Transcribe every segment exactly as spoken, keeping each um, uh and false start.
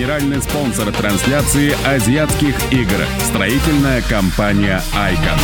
Генеральный спонсор трансляции азиатских игр. Строительная компания «Айкон».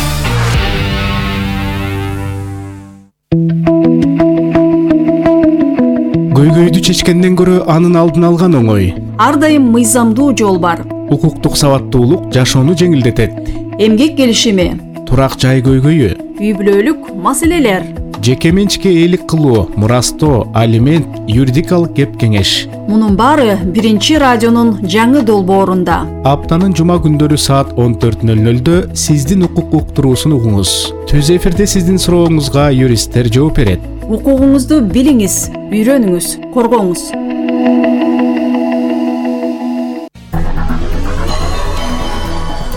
Көйгөйдү чечкенден көрө анын алдын алган оңой. Ар дайым мыйзамдуу жол бар. Укуктук сабаттуулук жашоону жеңилдетет. Эмгек келишими, турак жай көйгөйү, үй бүлөлүк маселелер, жеке менчикке ээлик кылуу, мурастоо, алимент, юридикалык кеп кеңеш. Мунун баары биринчи радионун жаңы долбоорунда. Аптанын жума күндөрү саат он төрт нөл нөлдө сиздин укук уктуруусун угуңуз. Түз эфирде сиздин сурооңузга юристтер жооп берет. Укугуңузду билиңиз, үйрөнүңүз, коргоңуз.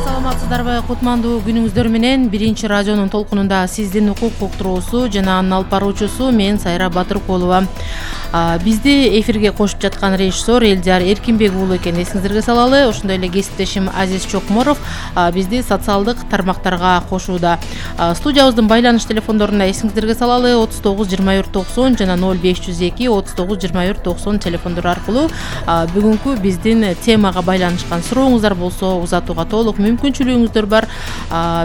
Саламатсыздарбы, кутмандуу күнүңүздөр менен. Биринчи радионун толкунунда сиздин укук уктуруусу жана анын алып баруучусу мен Сайра Батыркулова. Бизди эфирге кошуп жаткан режиссер Элдияр Эркинбек уулу экенин эсиңиздерге салалы. Ошондой эле кесиптешим Азиз Чокморов бизди социалдык тармактарга кошууда. Студиябыздын байланыш телефондоруна эсиңиздерге салалы отуз тогуз жыйырма бир токсон жана ноль беш жүз эки отуз тогуз жыйырма бир токсон телефондору аркылуу бүгүнкү биздин темага байланышкан сурооңуздар болсо узатууга толук мүмкүнчүлүгүңүздөр бар.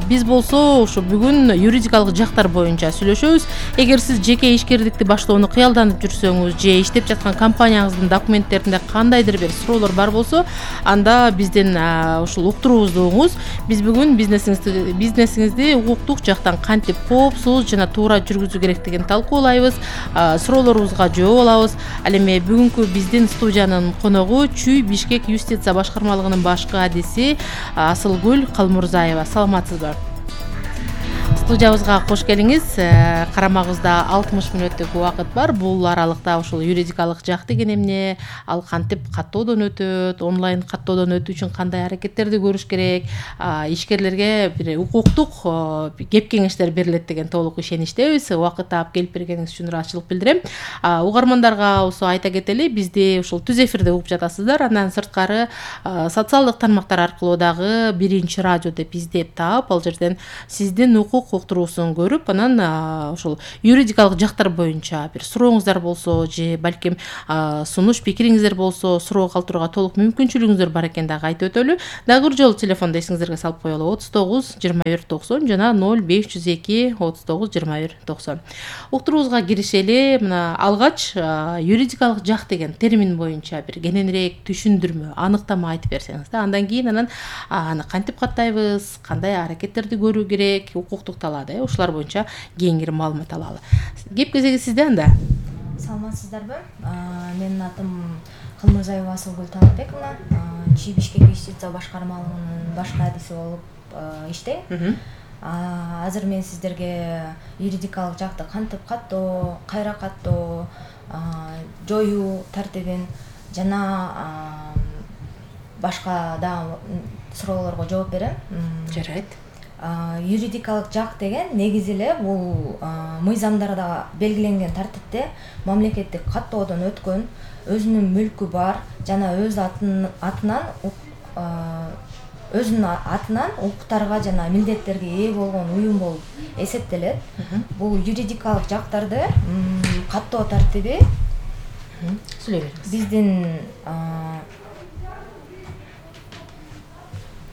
Биз болсо ушу бүгүн юридикалык жактар боюнча сүйлөшөбүз. Эгер сиз жеке ишкердикти баштоону кыялданып жүрсөңүз же иштеп жаткан компанияңыздын документтеринде кандайдыр бир суроолор бар болсо, анда бизден ушул уктуруубузду угуңуз. Биз бүгүн бизнесиңизди бизнесиңизди укуктук жактан кантип коопсуз жана туура жүргүзүү керектигин талкуулайбыз, суроолорубузга жооп алабыз. Ал эми бүгүнкү биздин студиянын коногу Чүй Бишкек юстиция башкармалыгынын башкы адиси Асылгүл Калмурзаева. Саламатсызбы? Студиябызга кош келиңиз. Карамагыбызда алтымыш мүнөттүк убакыт бар. Бул аралыкта ушул юридикалык жак деген эмне, ал кантип каттоодон өтөт, онлайн каттоодон өтүү үчүн кандай аракеттерди көрүш керек, ишкерлерге бир укуктук кеп кеңештер берилет деген толук ишеништебиз. Убакыт таап келип бергениңиз үчүн ыраазычылык билдирем. Угармандарга болсо айта кетели, бизди ушул түз эфирде угуп жатасыздар. Андан сырткары социалдык тармактар аркылуу дагы биринчи радио деп издеп таап, ал жерден сиздин укук уктуруусун көрүп, анан ушул юридикалык жактар боюнча бир сурооңуздар болсо же балким сунуш пикириңиздер болсо суроо калтырууга толук мүмкүнчүлүгүңүздөр бар экен дагы айтып өтөлү. Дагы бир жолу телефонду эсиңиздерге салып коелу отуз тогуз жыйырма бир токсон жана ноль беш жүз эки отуз тогуз жыйырма бир токсон. Уктуруубузга киришели. Мына алгач юридикалык жак деген термин боюнча бир кененирээк түшүндүрмө, аныктама айтып берсеңиз да, андан кийин анан аны кантип каттайбыз, кандай аракеттерди көрүү керек, укуктук талаада, ушулар боюнча кеңири маалымат алалы. Кеп кезеги сизде анда. Саламатсыздарбы? Менин атым Калмурзаева Асылгүл Талапбековна. Чүй Бишкек юстиция башкармалыгынын башкы адиси болуп иштейм. Азыр мен сиздерге юридикалык жакты кантип каттоо, кайра каттоо, жоюу тартибин жана башка да суроолорго жооп берем. Жарайт. Юридикалык жак деген негизи эле бул мыйзамдарда белгиленген тартипте мамлекеттик каттоодон өткөн, өзүнүн мүлкү бар жана өз атынан өзүнүн атынан укуктарга жана милдеттерге ээ болгон уюм болуп эсептелет. Бул юридикалык жактарды каттоо тартиби сүйлөй бериңиз. Биздин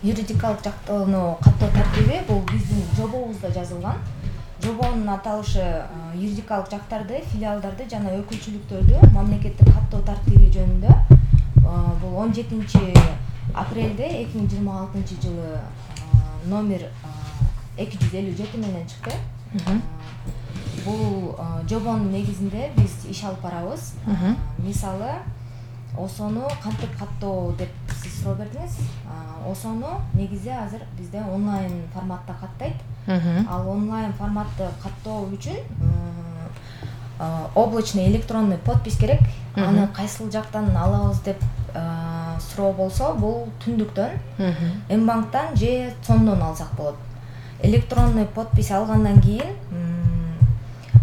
юридикалык жактоону каттоо тартиби бул биздин жобобузда жазылган. Жобонун аталышы юридикалык жактарды, филиалдарды жана өкүлчүлүктөрдү мамлекеттик каттоо тартиби жөнүндө. Бул он жетинчи апрелде эки миң жыйырма алтынчы жылы номер эки жүз элүү жети менен чыкты. Бул жобонун негизинде биз иш алып барабыз. Мисалы, осону кантип каттоо деп сиз суроо бердиңиз. Осону негизи азыр бизде онлайн форматта каттайт. Ал онлайн форматты каттоо үчүн облачный электронный подпись керек. Аны кайсыл жактан алабыз деп суроо болсо, бул түндүктөн, М-банктан же цомдон алсак болот. Электронный подпись алгандан кийин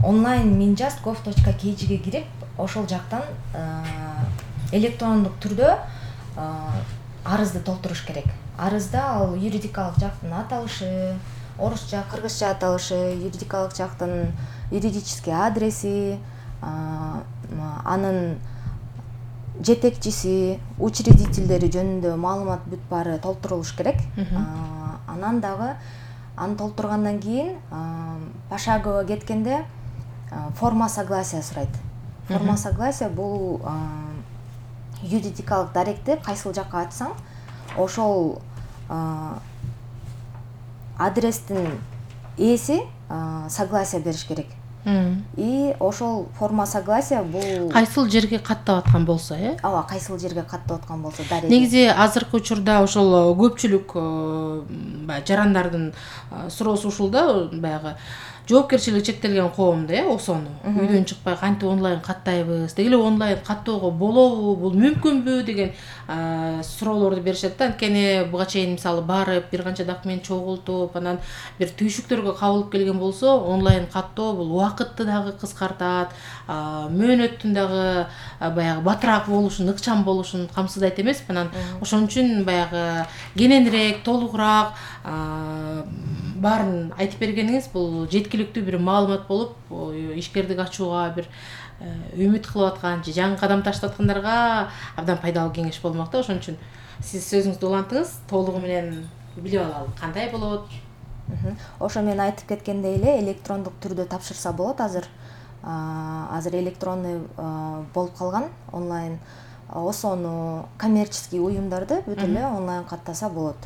онлайн minjust gov точка kgге кирип, ошол жактан электрондук түрдө арызды толтуруш керек. Арызда ал юридикалык жактын аталышы, орусча, кыргызча аталышы, юридикалык жактын юридический адреси, анын жетекчиси, учредительдери жөнүндө маалымат бүт баары толтурулуш керек. Анан дагы аны толтургандан кийин пошагово кеткенде форма согласия сурайт. Форма согласия бул юридикалык даректи кайсыл жакка ачсаң, ошол адрестин ээси согласия бериш керек. И ошол форма согласия бул кайсыл жерге каттап аткан болсо, э? Ооба, кайсыл жерге каттап аткан болсо дареги. Негизи азыркы учурда ошол көпчүлүк баягы жарандардын суроосу ушул да, баягы жоопкерчилиги чектелген коомду, э, осону үйдөн чыкпай кантип онлайн каттайбыз, деги эле онлайн каттоого болобу, бул мүмкүнбү деген суроолорду беришет да. Анткени буга чейин мисалы барып бир канча документ чогултуп, анан бир түйшүктөргө кабылып келген болсо, онлайн каттоо бул убакытты дагы кыскартат, мөөнөттүн дагы баягы батыраак болушун, ыкчам болушун камсыздайт эмеспи. Анан ошон үчүн баягы кененирээк, толугураак баарын айтып бергениңиз бул жеткиликтүү бир маалымат болуп, ишкердик ачууга бир үмүт кылып аткан же жаңы кадам таштап аткандарга абдан пайдалуу кеңеш болмок да. Ошон үчүн сиз сөзүңүздү улантыңыз, толугу менен билип алалы кандай болот. Ошо мен айтып кеткендей эле электрондук түрдө тапшырса болот. Азыр азыр электронный болуп калган онлайн. Осону коммерческий уюмдарды бүт эле онлайн каттаса болот.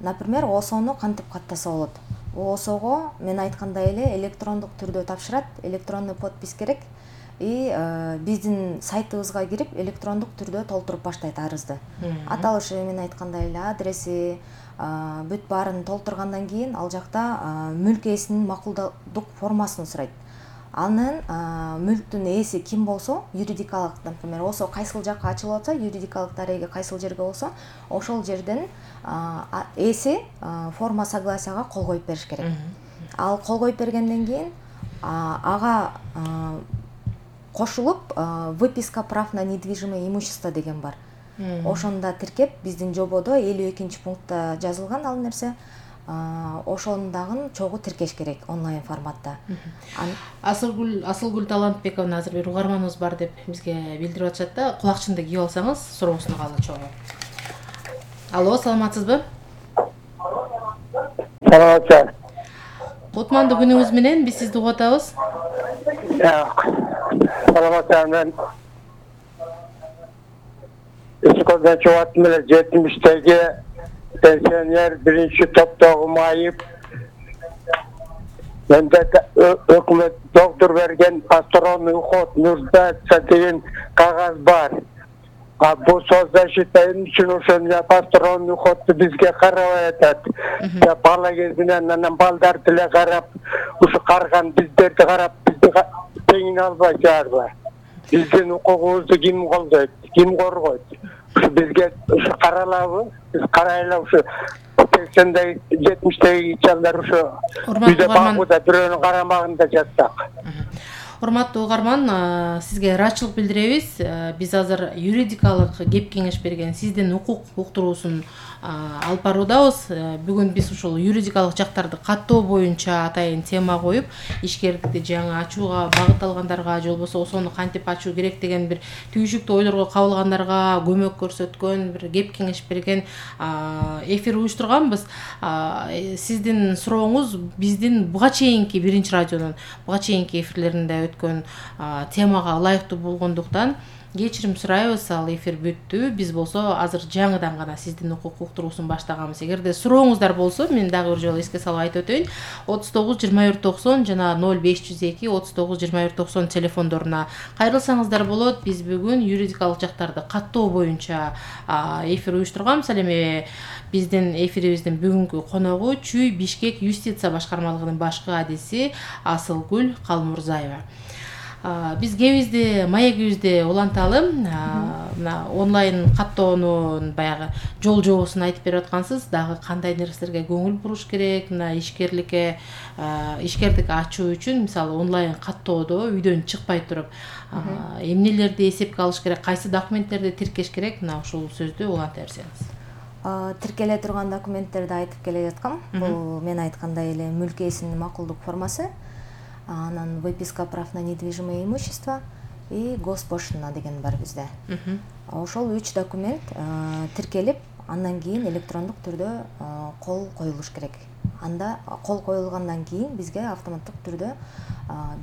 Например, осону кантип каттаса болот? Осого мен айткандай эле электрондук түрдө тапшырат, электронный подпись керек. И биздин сайтыбызга кирип электрондук түрдө толтуруп баштайт арызды. Аталышы мен айткандай эле адреси, бүт баарын толтургандан кийин ал жакта мүлк ээсинин макулдук формасын сурайт. Анын мүлктүн ээси ким болсо, юридикалык, например, осо кайсыл жакка ачылып атса, юридикалык дареги кайсыл жерге болсо, ошол жерден ээси форма согласияга кол коюп бериш керек. Ал кол коюп бергенден кийин ага кошулуп выписка прав на недвижимое имущество деген бар. Ошондо тиркеп, биздин жободо элүү экинчи пунктта жазылган ал нерсе. Ошону дагы чогуу тиркеш керек онлайн форматта. Асылгүл Асылгүл Талантбековна азыр бир угарманыбыз бар деп бизге билдирип атышат да. Кулакчынды кийип алсаңыз, суроосун алалы чогуу. Алло, саламатсызбы? Саламатсызбы. Кутмандуу күнүңүз менен биз сизди угуп атабыз. Саламатсызбы. Эскодан чогаттым эле жетимиштеги пенсионер биринчи топтогу майып. Менде өкмөт доктор берген посторонний уход нуждается деген кагаз бар. А бул соцзащита үчүн ошону посторонний уходду бизге карабай атат. Я бала кезинен анан балдар деле карап, ушу карган биздерди карап, бизди теңине албай жатпайбы? Биздин укугубузду ким колдойт, ким коргойт? Ушу бизге ушу каралабы? Биз карайлы ушу сексендеги, жетимиштеги чалдар ушу үйдө багууда бирөөнүн карамагында жатсак. Урматтуу угарман, сизге ыраачылык билдиребиз. Биз азыр юридикалык кеп кеңеш берген сиздин укук уктуруусун алып баруудабыз. Бүгүн биз ушул юридикалык жактарды каттоо боюнча атайын тема коюп, ишкердикти жаңы ачууга багытталгандарга, же болбосо осону кантип ачуу керек деген бир түйшүктүү ойлорго кабылгандарга көмөк көрсөткөн, бир кеп кеңеш берген эфир уюштурганбыз. Сиздин сурооңуз биздин буга чейинки биринчи радионун буга чейинки эфирлеринде өткөн темага ылайыктуу болгондуктан кечирим сурайбыз. Ал эфир бүттү. Биз болсо азыр жаңыдан гана сиздин укук уктуруусун баштаганбыз. Эгерде сурооңуздар болсо, мен дагы бир жолу эске салып айтып өтөйүн. отуз тогуз жыйырма бир токсон жана ноль беш жүз эки отуз тогуз жыйырма бир токсон телефондоруна кайрылсаңыздар болот. Биз бүгүн юридикалык жактарды каттоо боюнча эфир уюштурганбыз. Ал эми биздин эфирибиздин бүгүнкү коногу Чүй Бишкек юстиция башкармалыгынын башкы адиси Асылгүл Калмурзаева. Биз кебизди, маегибизди уланталы. Мына онлайн каттоонун баягы жол жобосун айтып берип аткансыз. Дагы кандай нерселерге көңүл буруш керек? Мына ишкерликке, ишкердик ачуу үчүн мисалы онлайн каттоодо үйдөн чыкпай туруп эмнелерди эсепке алыш керек, кайсы документтерди тиркеш керек? Мына ушул сөздү уланта берсеңиз. Тиркеле турган документтерди айтып келе жаткам. Бул мен айткандай эле мүлк ээсинин макулдук формасы, анан выписка прав на недвижимое имущество и Госпошлина деген бар бизде. Ошол үч документ тиркелип, андан кийин электрондук түрдө кол коюлуш керек. Анда кол коюлгандан кийин бизге автоматтык түрдө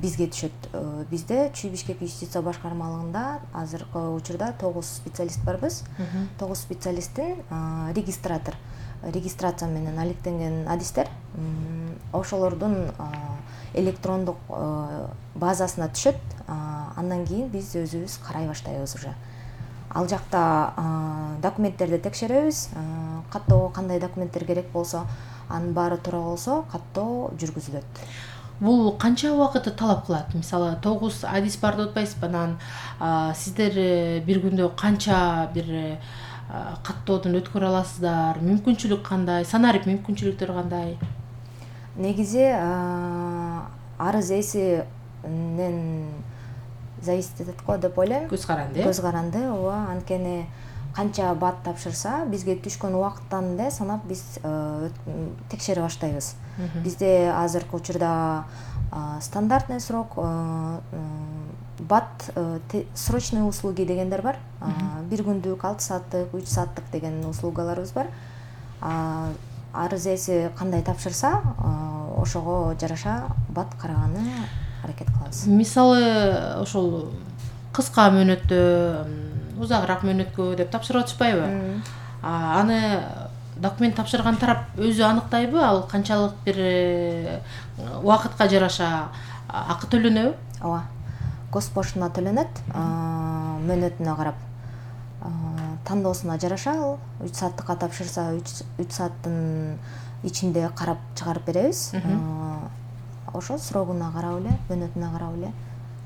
бизге түшөт. Бизде Чүй Бишкек юстиция башкармалыгында азыркы учурда тогуз специалист барбыз. тогуз специалисттин регистратор, регистрация менен алектенген адистер ошолордун электрондук базасына түшөт. Андан кийин биз өзүбүз карай баштайбыз уже. Ал жакта документтерди текшеребиз. Каттоого кандай документтер керек болсо, анын баары туура болсо, каттоо жүргүзүлөт. Бул канча убакытты талап кылат? Мисалы, тогуз адис бар деп атпайсызбы? Анан сиздер бир күндө канча бир каттоодон өткөрө аласыздар? Мүмкүнчүлүк кандай? Санарип мүмкүнчүлүктөр кандай? Негизи арыз ээсинен зависит этет го деп ойлойм. Көз каранды. Көз каранды, ооба. Анткени канча бат тапшырса, бизге түшкөн убакыттан эле санап биз текшере баштайбыз. Бизде азыркы учурда стандартный срок, бат срочные услуги дегендер бар. Бир күндүк, алты сааттык, үч сааттык деген услугаларыбыз бар. Арыз ээси кандай тапшырса, ошого жараша бат караганы аракет кылабыз. Мисалы, ошол кыска мөөнөттө, узагыраак мөөнөткө деп тапшырып атышпайбы? Аны документ тапшырган тарап өзү аныктайбы? Ал канчалык бир убакытка жараша акы төлөнөбү? Ооба. Госпошлина төлөнөт, мөөнөтүнө карап. Тандоосуна жараша ал үч сааттыкка тапшырса, үч сааттын ичинде карап чыгарып беребиз. Ошо срогуна карап эле, мөөнөтүнө карап эле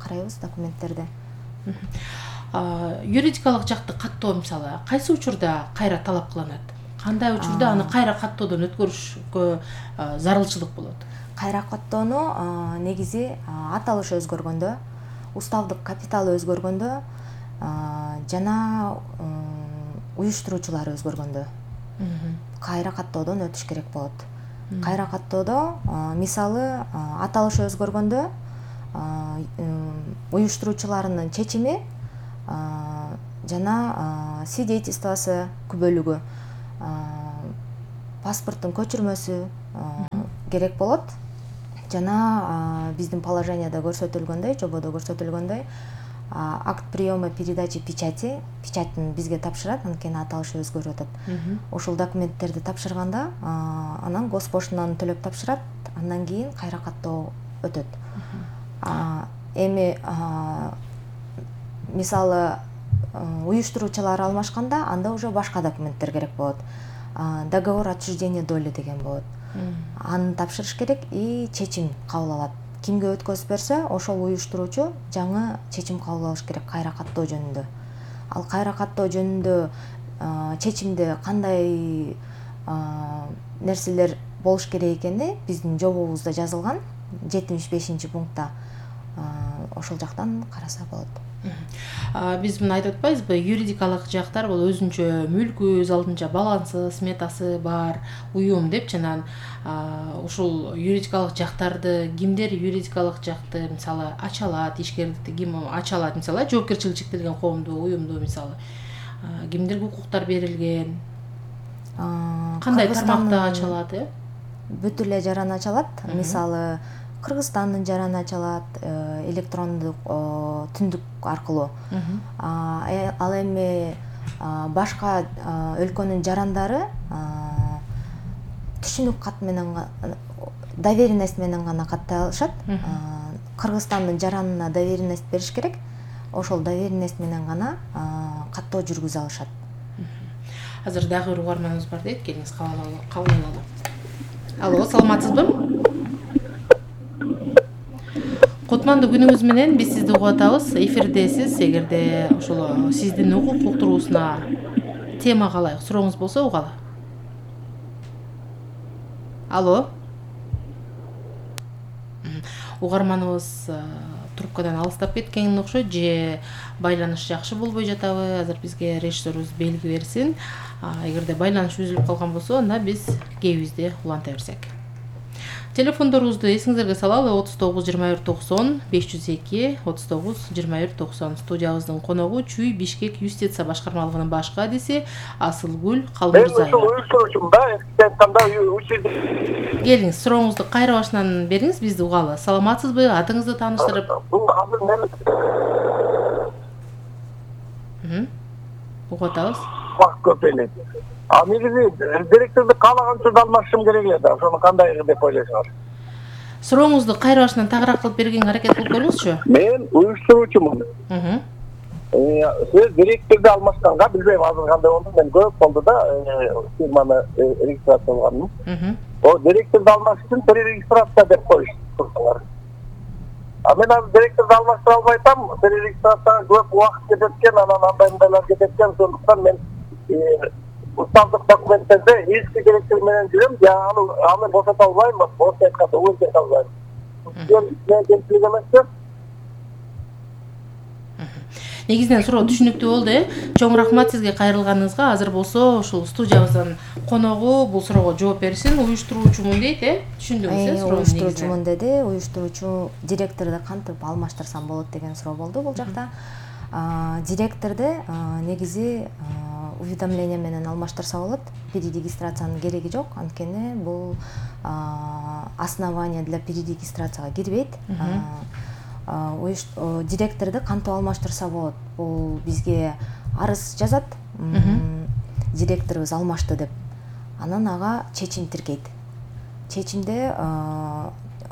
карайбыз документтерди. Юридикалык жакты каттоо мисалы, кайсы учурда кайра талап кылынат? Кандай учурда аны кайра каттоодон өткөрүшкө зарылчылык болот? Кайра каттоону негизи аталыш өзгөргөндө, уставдык капиталы өзгөргөндө жана уюштуруучулар өзгөргөндө кайра каттоодон өтүш керек болот. Кайра каттоодо мисалы аталыш өзгөргөндө уюштуруучуларынын чечими жана свидетельствосы күбөлүгү, паспорттун көчүрмөсү керек болот. Жана биздин положенияда көрсөтүлгөндөй, жободо көрсөтүлгөндөй, акт приема передачи печати, печатын бизге тапшырат, анткени аталышы өзгөрүп атат. Ошол документтерди тапшырганда, анан Госпошлинаны төлөп тапшырат, андан кийин кайра каттоо өтөт. Эми мисалы уюштуруучулар алмашканда, анда уже башка документтер керек болот. Договор отчуждения доли деген болот. Аны тапшырыш керек и чечим кабыл алат. Кимге өткөзүп берсе, ошол уюштуруучу жаңы чечим кабыл алыш керек кайра каттоо жөнүндө. Ал кайра каттоо жөнүндө чечимде кандай нерселер болуш керек экени биздин жобобузда жазылган, жетимиш бешинчи пунктта. Ошол жактан караса болот. Биз муну айтып атпайбызбы? Юридикалык жактар бул өзүнчө мүлкү, өз алдынча балансы, сметасы бар уюм деп, жана ушул юридикалык жактарды кимдер юридикалык жакты мисалы ача алат, ишкерликти ким ача алат, мисалы жоопкерчилиги чектелген коомду, уюмду мисалы кимдерге укуктар берилген? Кандай тармакта ача алат, э? Бүт эле жаран ача алат. Мисалы Кыргызстандын жараны ача алат, электрондук түндүк аркылуу. Ал эми башка өлкөнүн жарандары түшүнүк кат менен, доверенность менен гана каттай алышат. Кыргызстандын жаранына доверенность бериш керек. Ошол доверенность менен гана каттоо жүргүзө алышат. Азыр дагы бир угарманыбыз бар дейт, келиңиз кабыл алалы. Алло, саламатсызбы? Кутмандуу күнүңүз менен, биз сизди угуп атабыз. Эфирдесиз. Эгерде ошол сиздин укук уктуруусуна темага ылайык сурооңуз болсо угалы. Алло. Угарманыбыз трубкадан алыстап кеткен окшойт, же байланыш жакшы болбой жатабы? Азыр бизге режиссерубуз белги берсин. Эгерде байланыш үзүлүп калган болсо, анда биз кебибизди уланта берсек. Телефондорубузду эсиңиздерге салалы: отуз тогуз жыйырма бир токсон беш жүз эки, отуз тогуз жыйырма бир токсон. Студиябыздын коногу Чүй Бишкек юстиция башкармалыгынын баш кадиси Асылгүл Калмурзаева. Мен уюштуруучумун да, айтканда учурда. Келиңиз, сурооңузду кайра башынан бериңиз, бизди угалы. Саламатсызбы? Атыңызды тааныштырып. Бул азыр мен Мм. Угуп атабыз. Вакыт көп эле. А негизи директорду каалаган учурда алмашым керек эле да. Ошону кандай деп ойлойсуңар? Сурооңузду кайра башынан тагыраак кылып бергенге аракет кылып көрүңүзчү. Мен уюштуруучумун. Мм. Сиз директорду алмашканга билбейм азыр кандай болду. Мен көп болду да фирманы регистрациялаганым. Мм. О директорду алмаш үчүн перерегистрация деп коюштур. А мен азыр директорду алмаштыра албай атам. Перерегистрацияга көп убакыт кетет экен, анан андай мындайлар кетет экен. Сондуктан мен уставдык документтерде эски директор менен жүрөм. Я аны аны босото албайм, босото айтканда өзгөртө албайм. Мен кемчилик эмес. Негизинен суроо түшүнүктүү болду, э? Чоң рахмат сизге кайрылганыңызга. Азыр болсо ушул студиябыздын коногу бул суроого жооп берсин. Уюштуруучумун дейт, э? Түшүндүңүз, э, суроону? Уюштуруучумун деди. Уюштуруучу директорду кантип алмаштырсам болот деген суроо болду бул жакта. Директорду негизи уведомление менен алмаштырса болот. Перерегистрациянын кереги жок, анткени бул основание для перерегистрацияга кирбейт. Директорду кантип алмаштырса болот? Бул бизге арыз жазат. Директорубуз алмашты деп. Анан ага чечим тиркейт. Чечимде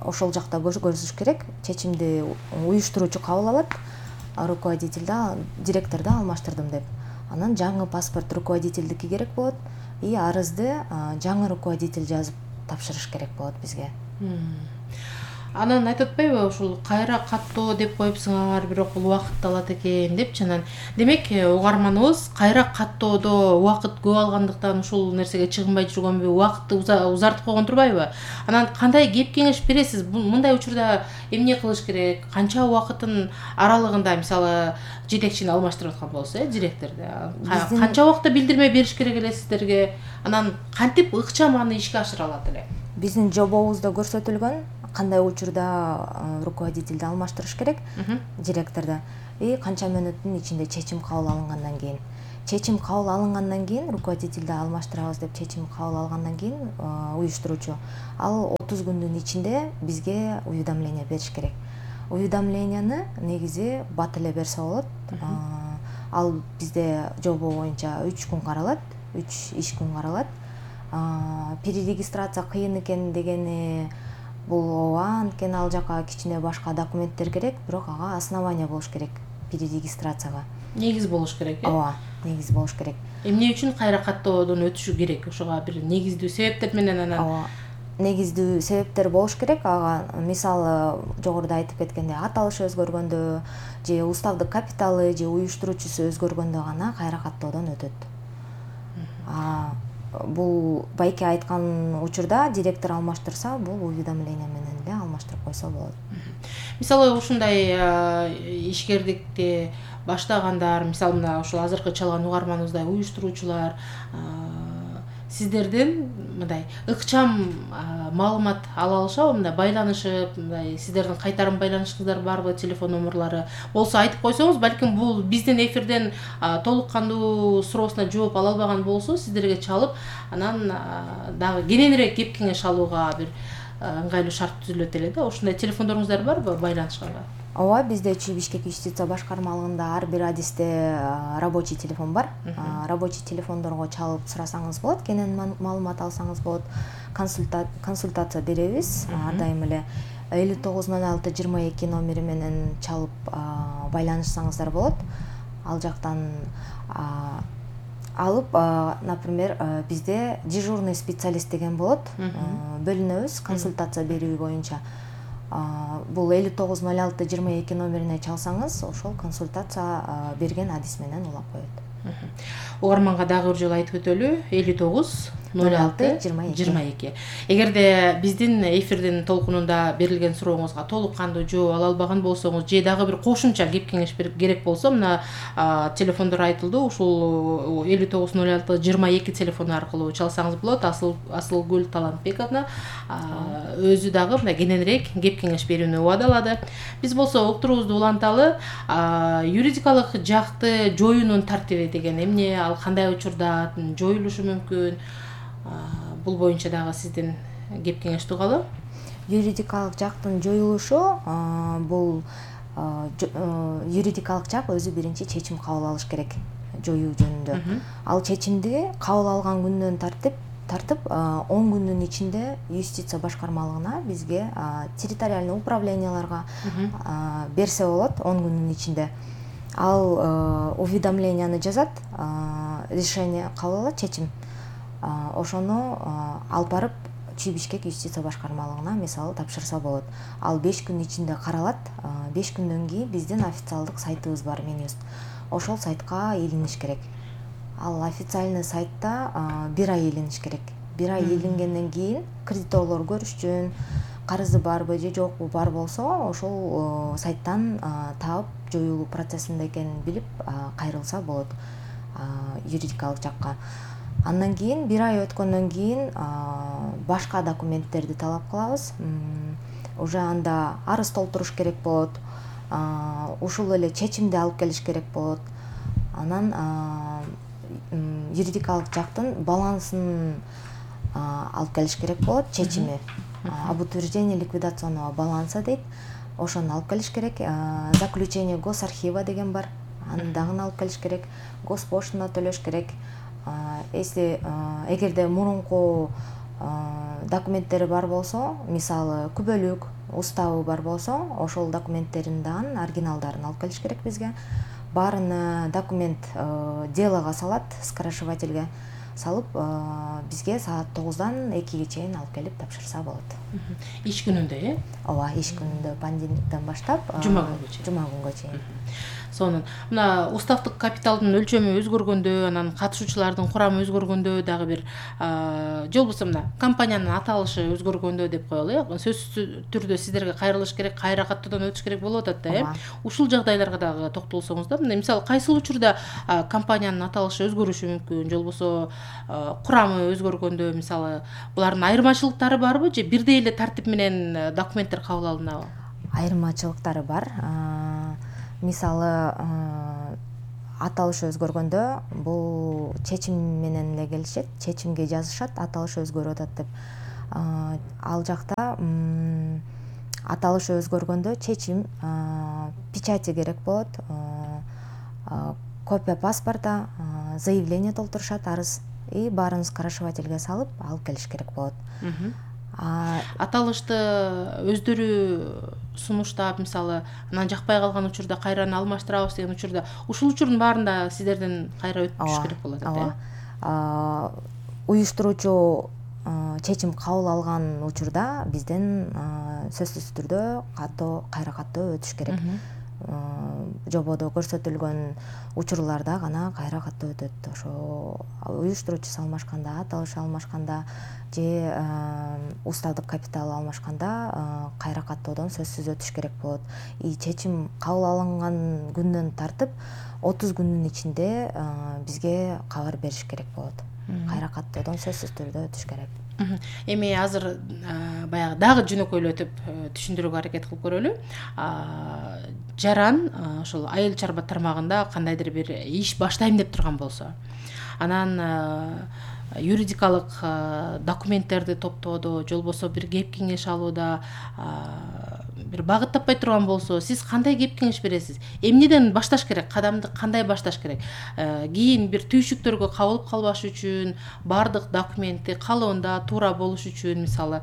ошол жакта көрсөтүш керек. Чечимди уюштуруучу кабыл алат. Руководителди, директорду алмаштырдым деп. Анан жаңы паспорт руководительдики керек болот. И арызды жаңы руководитель жазып тапшырыш керек болот бизге. Анан айтып атпайбы, ушул кайра каттоо деп коюпсуңар, бирок бул убакытты алат экен депчи. Анан демек угарманыбыз кайра каттоодо убакыт көп алгандыктан ушул нерсеге чыгынбай жүргөнбү, убакытты узартып койгон турбайбы? Анан кандай кеп кеңеш бересиз? Мындай учурда эмне кылыш керек? Канча убакыттын аралыгында мисалы жетекчини алмаштырып аткан болсо, э, директорду канча убакытта билдирме бериш керек эле сиздерге? Анан кантип ыкчам аны ишке ашыра алат эле? Биздин жобобузда көрсөтүлгөн кандай учурда руководителди алмаштырыш керек директорду и канча мүнөттүн ичинде чечим кабыл алынгандан кийин. Чечим кабыл алынгандан кийин руководителди алмаштырабыз деп чечим кабыл алгандан кийин уюштуруучу ал отуз күндүн ичинде бизге уведомление бериш керек. Уведомленияны негизи бат эле берсе болот. Ал бизде жобо боюнча үч күн каралат, үч иш күн каралат. Перерегистрация кыйын экен дегени бул ооба, анткени ал жака кичине башка документтер керек, бирок ага основание болуш керек перерегистрацияга. Негиз болуш керек, э? Ооба, негиз болуш керек. Эмне үчүн кайра каттоодон өтүшү керек? Ошого бир негиздүү себептер менен анан. Ооба. Негиздүү себептер болуш керек. Ага мисалы жогоруда айтып кеткендей аталышы өзгөргөндө же уставдык капиталы же уюштуруучусу өзгөргөндө гана кайра каттоодон өтөт. А бул байке айткан учурда директор алмаштырса, бул уведомление менен эле алмаштырып койсо болот. Мисалы ушундай ишкердикти баштагандар, мисалы мына ушул азыркы чалган угарманыбыздай уюштуруучулар сиздерден мындай ыкчам маалымат ала алышабы, мындай байланышып, мындай сиздердин кайтарым байланышыңыздар барбы, телефон номерлары болсо айтып койсоңуз, балким бул биздин эфирден толук кандуу суроосуна жооп ала албаган болсо, сиздерге чалып, анан дагы кененирээк кеп кеңеш алууга бир ыңгайлуу шарт түзүлөт эле да. Ушундай телефондоруңуздар барбы байланышканга? Ооба, бизде Чүй Бишкек юстиция башкармалыгында ар бир адисте рабочий телефон бар. Рабочий телефондорго чалып сурасаңыз болот, кенен маалымат алсаңыз болот. Консультация беребиз ар дайым эле. элүү тогуз ноль алты жыйырма эки номери менен чалып байланышсаңыздар болот. Ал жактан алып, например, бизде дежурный специалист деген болот. Бөлүнөбүз консультация берүү боюнча. Бул элүү тогуз ноль алты жыйырма эки номерине чалсаңыз, ошол консультация берген адис менен улап коет. Угарманга дагы бир жолу айтып өтөлү. элүү тогуз ноль алты жыйырма эки. Эгерде биздин эфирдин толкунунда берилген сурооңузга толук кандуу жооп ала албаган болсоңуз же дагы бир кошумча кеп кеңеш керек болсо мына телефондор айтылды. Ушул элүү тогуз ноль алты жыйырма эки телефону аркылуу чалсаңыз болот. Асыл Асылгүл Талантбековна өзү дагы мына кененирээк кеп кеңеш берүүнү убадалады. Биз болсо уктуруубузду уланталы. Юридикалык жакты жоюунун тартиби деген эмне, ал кандай учурда жоюлушу мүмкүн? Бул боюнча дагы сиздин кеп кеңеш тугалы. Юридикалык жактын жоюлушу бул юридикалык жак өзү биринчи чечим кабыл алыш керек жоюу жөнүндө. Ал чечимди кабыл алган күндөн тартып тартып он күндүн ичинде юстиция башкармалыгына бизге территориальный управленияларга берсе болот. он күндүн ичинде ал уведомленияны жазат, решение кабыл алат, чечим. Ошону алып барып Чүй Бишкек юстиция башкармалыгына мисалы тапшырса болот. Ал беш күн ичинде каралат. беш күндөн кийин биздин официалдык сайтыбыз бар, Минюст. Ошол сайтка илиниш керек. Ал официальный сайтта бир ай илиниш керек. бир ай илингенден кийин кредиторлор көрүшчүн, карызы барбы же жокпу, бар болсо ошол сайттан таап жоюлуу процессинде экенин билип кайрылса болот юридикалык жакка. Андан кийин бир ай өткөндөн кийин башка документтерди талап кылабыз. Уже анда арыз толтуруш керек болот. Ушул эле чечимди алып келиш керек болот. Анан юридикалык жактын балансын алып келиш керек болот, чечими. Об утверждении ликвидационного баланса дейт. Ошону алып келиш керек. Заключение госархива деген бар. Аны дагы алып келиш керек. Госпоштана төлөш керек. Если эгерде мурунку документтери бар болсо, мисалы күбөлүк, уставы бар болсо, ошол документтерин дагы оригиналдарын алып келиш керек бизге. Баарын документ делого салат, скорочевательге салып, бизге саат тогуздан экиге чейин алып келип тапшырса болот. Иш күнүндө, э? Ооба, иш күнүндө понедельниктен баштап жума күнгө чейин. Жума күнгө чейин. Сонун. Мына уставдык капиталдын өлчөмү өзгөргөндө, анан катышуучулардын курамы өзгөргөндө дагы бир же болбосо мына компаниянын аталышы өзгөргөндө деп коелу, э? Сөзсүз түрдө сиздерге кайрылыш керек, кайра каттоодон өтүш керек болуп атат да, э? Ушул жагдайларга дагы токтолсоңуз да. Мына мисалы кайсыл учурда компаниянын аталышы өзгөрүшү мүмкүн, же болбосо курамы өзгөргөндө мисалы булардын айырмачылыктары барбы же бирдей эле тартип менен документтер кабыл алынабы? Айырмачылыктары бар. Мисалы аталыш өзгөргөндө бул чечим менен эле келишет, чечимге жазышат, аталыш өзгөрүп атат деп. Ал жакта аталыш өзгөргөндө чечим, печати керек болот, копия паспорта, заявление толтурушат, арыз и баарын скорочевательге салып алып келиш керек болот. Аталышты өздөрү сунуштап, мисалы, анан жакпай калган учурда кайраны алмаштырабыз деген учурда, ушул учурдун баарында сиздерден кайра өтүш керек болот, э? Уюштуруучу чечим кабыл алган учурда бизден сөзсүз түрдө каттоо, кайра каттоо өтүш керек. Жободо көрсөтүлгөн учурларда гана кайра каттоо өтөт. Ошо уюштуруучусу алмашканда, аталыш алмашканда же уставдык капитал алмашканда кайра каттоодон сөзсүз өтүш керек болот. И чечим кабыл алынган күндөн тартып отуз күндүн ичинде бизге кабар бериш керек болот. Кайра каттоодон сөзсүз түрдө өтүш керек. Эми азыр баягы дагы жөнөкөйлөтүп түшүндүрүүгө аракет кылып көрөлү. Жаран ошол айыл чарба тармагында кандайдыр бир иш баштайм деп турган болсо, анан юридикалык документтерди топтоодо, же болбосо бир кеп кеңеш алууда бир багыт таппай турган болсо, сиз кандай кеп кеңеш бересиз? Эмнеден башташ керек? Кадамды кандай башташ керек? Кийин бир түйшүктөргө кабылып калбаш үчүн, бардык документти калоонда туура болуш үчүн, мисалы.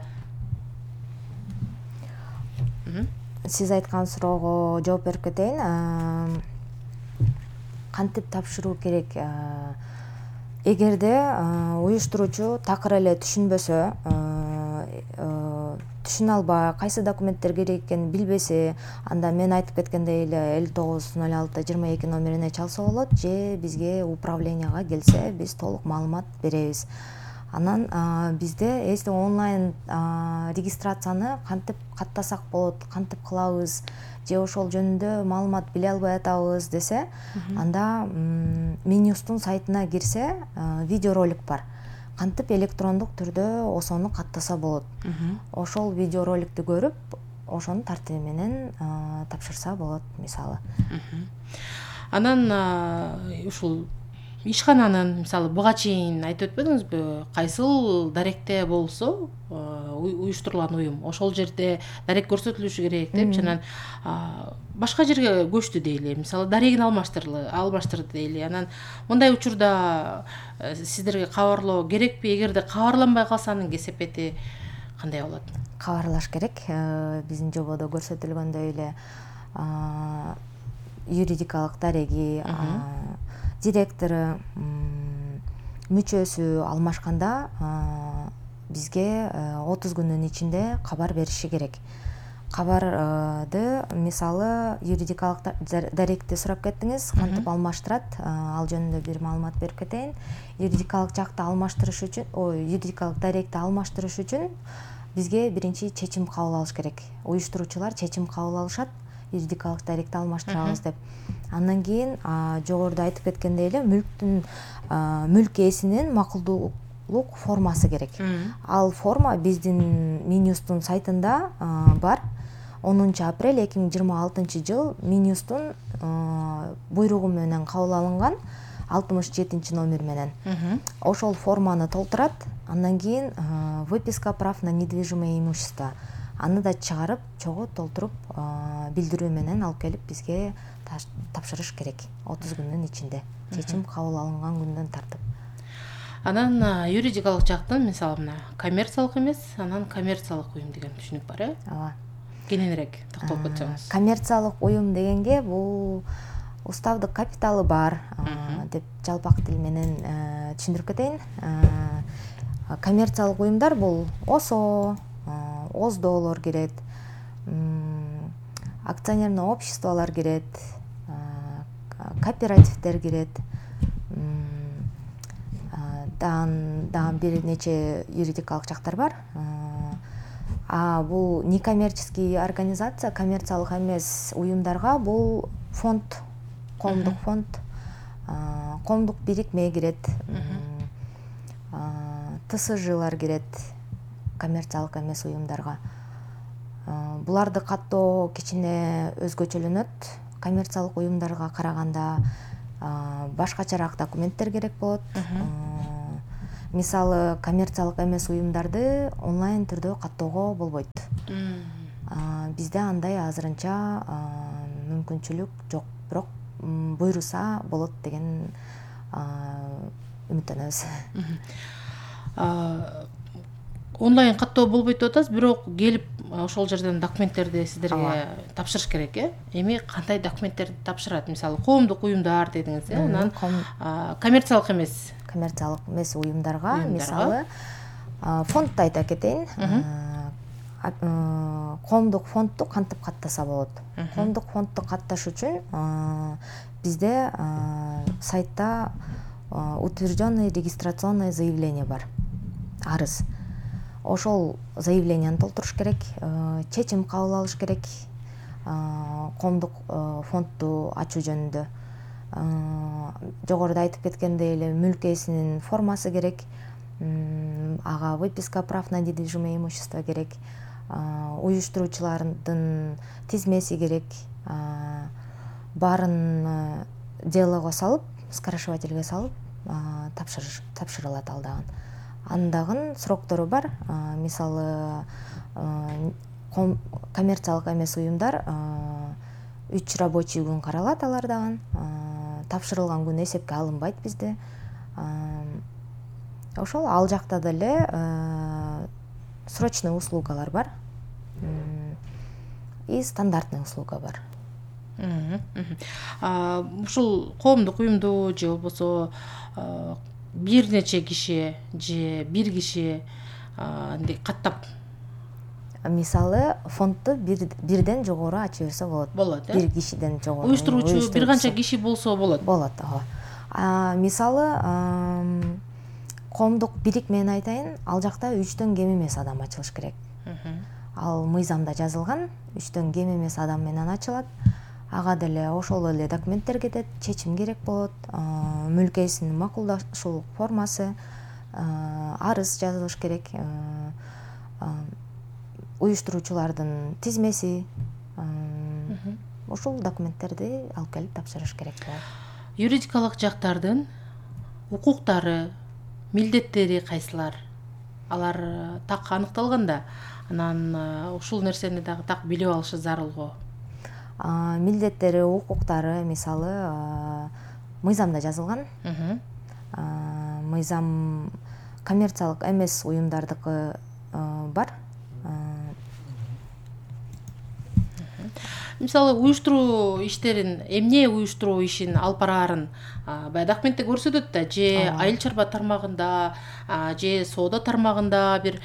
Сиз айткан суроого жооп берип кетейин. Кантип тапшыруу керек? Эгерде уюштуруучу такыр эле түшүнбөсө, түшүнө албай, кайсы документтер керек экенин билбесе, анда мен айтып кеткендей эле элүү тогуз ноль алты жыйырма эки номерине чалса болот, же бизге управленияга келсе, биз толук маалымат беребиз. Анан бизде если онлайн регистрацияны кантип каттасак болот, кантип кылабыз же ошол жөнүндө маалымат биле албай атабыз десе, анда Минюстун сайтына кирсе видеоролик бар. Кантип электрондук түрдө ошону каттаса болот. Ошол видеороликти көрүп, ошонун тартиби менен тапшырса болот мисалы. Анан ушул ишкананын мисалы буга чейин айтып өтпөдүңүзбү, кайсыл даректе болсо уюштурулган уюм ошол жерде дарек көрсөтүлүшү керек деп, анан башка жерге көчтү дейли, мисалы дарегин алмаштырды алмаштырды дейли. Анан мындай учурда сиздерге кабарлоо керекпи? Эгерде кабарланбай калса анын кесепети кандай болот? Кабарлаш керек. Биздин жободо көрсөтүлгөндөй эле юридикалык дареги, директору, мүчөсү алмашканда бизге отуз күндүн ичинде кабар бериши керек. Кабарды мисалы юридикалык даректи сурап кеттиңиз, кантип алмаштырат, ал жөнүндө бир маалымат берип кетейин. Юридикалык жакты алмаштырыш үчүн, ой, юридикалык даректи алмаштырыш үчүн бизге биринчи чечим кабыл алыш керек. Уюштуруучулар чечим кабыл алышат, юридикалык даректи алмаштырабыз деп. Андан кийин жогоруда айтып кеткендей эле мүлктүн мүлк ээсинин макулдуулук формасы керек. Ал форма биздин Минюстун сайтында бар. онунчу апрель эки миң жыйырма алтынчы жыл Минюстун буйругу менен кабыл алынган алтымыш жетинчи номер менен. Ошол форманы толтурат. Андан кийин выписка прав на недвижимое имущество. Аны да чыгарып, чогуу толтуруп, билдирүү менен алып келип бизге тапшырыш керек отуз күндүн ичинде. Чечим кабыл алынган күндөн тартып. Анан юридикалык жактын мисалы мына коммерциялык эмес, анан коммерциялык уюм деген түшүнүк бар, э? Ооба. Кененирээк токтолуп кетсеңиз. Коммерциялык уюм дегенге бул уставдык капиталы бар деп жалпак тил менен түшүндүрүп кетейин. Коммерциялык уюмдар бул ОСО, ОЗДОлор кирет, акционерный обществолор кирет, кооперативдер кирет, дан бир нече юридикалык жактар бар. А бул некоммерческий организация, коммерциялык эмес уюмдарга бул фонд, коомдук фонд, коомдук бирикме кирет, ТСЖлар кирет коммерциялык эмес уюмдарга. Буларды каттоо кичине өзгөчөлөнөт. Коммерциялык уюмдарга караганда башкачараак документтер керек болот. Мисалы, коммерциялык эмес уюмдарды онлайн түрдө каттоого болбойт. Бизде андай азырынча мүмкүнчүлүк жок, бирок буйруса болот деген үмүттөнөбүз. Онлайн каттоо болбойт деп атасыз, бирок келип ошол жерден документтерди сиздерге тапшырыш керек, э? Эми кандай документтерди тапшырат? Мисалы, коомдук уюмдар дедиңиз, э? Анан коммерциялык эмес коммерциялык эмес уюмдарга, мисалы, фондду айта кетейин. Коомдук фондду кантип каттаса болот? Коомдук фондду катташ үчүн бизде сайтта утвержденное регистрационное заявление бар. Арыз. Ошол заявленияны толтуруш керек, чечим кабыл алыш керек коомдук фондду ачуу жөнүндө. Жогоруда айтып кеткендей эле мүлк ээсинин формасы керек, ага выписка прав на недвижимое имущество керек, уюштуруучулардын тизмеси керек, баарын делого салып, скорочувательге салып тапшырылат ал дагы. Андагын сроктору бар. Мисалы, коммерциялык эмес уюмдар үч рабочий күн каралат алардагы. Тапшырылган күн эсепке алынбайт бизде. Ошол ал жакта деле срочный услугалар бар. И стандартный услуга бар. Ушул коомдук уюмду же болбосо бир нече киши же бир киши каттап, мисалы, фондду бирден жогору ача берсе болот. Болот, э? Бир кишиден жогору. Уюштуруучу бир канча киши болсо болот. Болот, ооба. Мисалы, коомдук бирик менен айтайын, ал жакта үчтөн кем эмес адам ачылыш керек. Ал мыйзамда жазылган, үчтөн кем эмес адам менен ачылат. Ага деле ошол эле документтер кетет, чечим керек болот, мүлк ээсинин макулдашуу формасы, арыз жазылыш керек, уюштуруучулардын тизмеси, ушул документтерди алып келип тапшырыш керек болот. Юридикалык жактардын укуктары, милдеттери кайсылар? Алар так аныкталганда, анан ушул нерсени дагы так билип алышы зарыл го. Милдеттери, укуктары мисалы мыйзамда жазылган. Мыйзам коммерциялык эмес уюмдардыкы бар. Мисалы, уюштуруу иштерин, эмне уюштуруу ишин алып бараарын баягы документте көрсөтөт да, же айыл чарба тармагында, же соода тармагында бир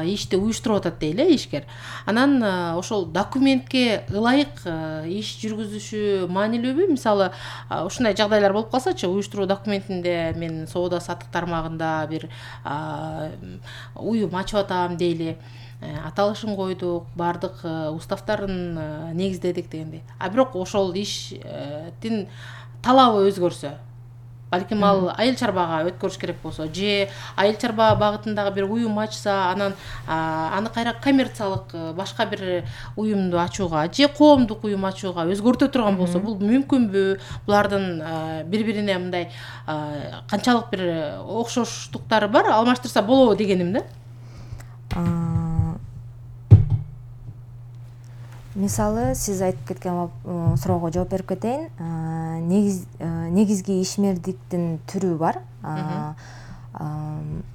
ишти уюштуруп атат дейли ишкер. Анан ошол документке ылайык иш жүргүзүшү маанилүүбү? Мисалы, ушундай жагдайлар болуп калсачы, уюштуруу документинде мен соода саттык тармагында бир уюм ачып атам дейли. Аталышын койдук, бардык уставтарын негиздедик дегендей. А бирок ошол иштин талабы өзгөрсө, балким ал айыл чарбага өткөрүш керек болсо, же айыл чарба багытындагы бир уюм ачса, анан аны кайра коммерциялык башка бир уюмду ачууга, же коомдук уюм ачууга өзгөртө турган болсо, бул мүмкүнбү? Булардын бири-бирине мындай канчалык бир окшоштуктары бар, алмаштырса болобу дегеним да. Мисалы, сиз айтып кеткен суроого жооп берип кетейин. Негизги ишмердиктин түрү бар.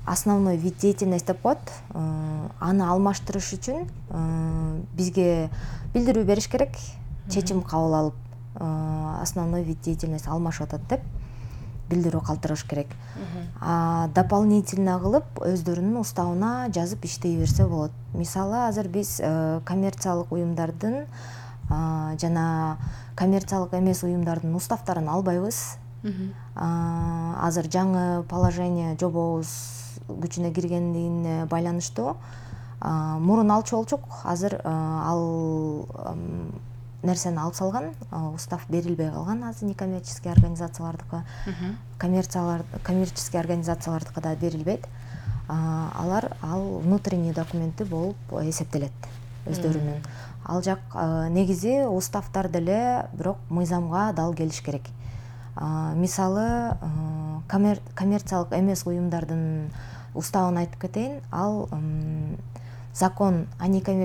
Основной вид деятельности деп коет. Аны алмаштырыш үчүн бизге билдирүү бериш керек, чечим кабыл алып, основной вид деятельности алмашып атат деп билдирүү калтырыш керек. Дополнительно кылып өздөрүнүн уставына жазып иштей берсе болот. Мисалы, азыр биз коммерциялык уюмдардын жана коммерциялык эмес уюмдардын уставтарын албайбыз. Азыр жаңы положение жобобуз күчүнө киргендигине байланыштуу мурун алчу болчук, азыр ал нерсени алып салган, устав берилбей калган азыр некоммерческий организациялардыкы, коммерческий организациялардыкы да берилбейт. Алар ал внутренний документи болуп эсептелет өздөрүнүн. Ал жак негизи уставтар деле, бирок мыйзамга дал келиш керек. Мисалы, коммерциялык эмес уюмдардын уставын айтып кетейин, ал закон о некоммерческих